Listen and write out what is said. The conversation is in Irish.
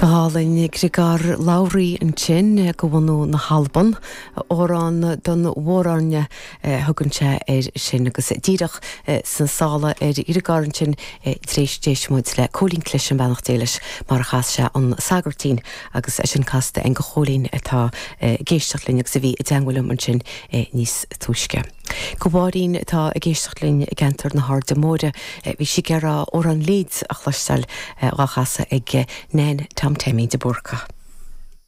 Go hálainn, Griogair Labhruidh ansin, de bhunadh na hAlban. Amhrán don Mhór-Airne a thugann sé air sin agus díreach sna sála ar Ghriogar ansin tar éis d'éist muid le Cóilín Cliseam, beannacht Dé leis, mar a chas sé an Sagairtín agus é sin casta againn do Chóilín atá ag éisteacht linn agus a bhí i dteangmháil liom ansin níos túisce. Do Mháirín atá ag éisteacht linn i gceantar na hAirde Móire, bhí sí ag iarraidh Amhrán Leeds a chloisteáil dhá chasadh ag Nan Tom Teaimín de Búrca.